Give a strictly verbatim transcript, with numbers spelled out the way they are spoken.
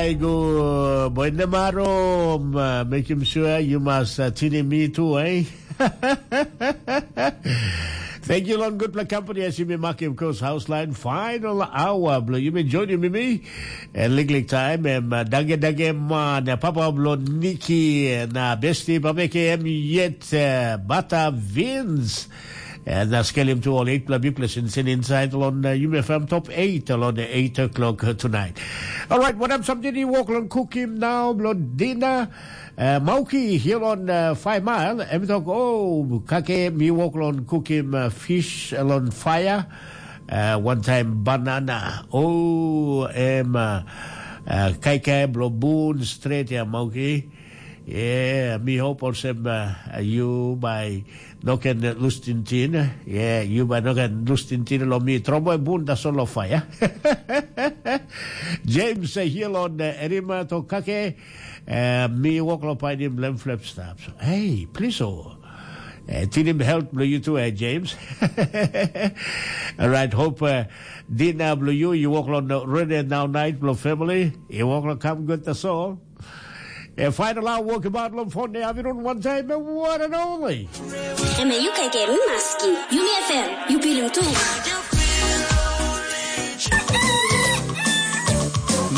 Aigu, boy Nemaro, um, uh, make him sure you must uh, tune in me too, eh? Thank you, long good company as you may mark him course house line final hour. Blow you may join him me. And Lick Lick time, and uh, Dage Dage man, uh, Papa Blow Nikki, and uh, Bestie Papa K M yet, uh, Bata Vince. And uh, scale him to all eight club you listen inside on uh, U M F M top eight on the eight o'clock uh, tonight. All right, what up, something you walk on cook him now, blood dinner. Uh, Mauki here on uh, five mile. Em talk, oh, kake me walk on cook him uh, fish on fire. Uh, one time banana. Oh, em uh, uh, kai kai blo boon straight ya Mauki. Yeah, mi hope olsem uh, you by no can lose tintin. Yeah, you by no can lose tintin lo mi trombo boon da solo fire. James uh, here on uh, Erima to kake. Uh, mi walk lo painim lem flap stop. So, hey, please oh. Uh, tinim help lo you too, eh, James. All right, hope uh, dinner blo you, you walk lo no, ready now night blo family. You walk lo come good that's all. E final hour walk about long phone day. Have you done one time? One and only. Eme yu kaikai mi maski. Yumi F M, yu pilim tu.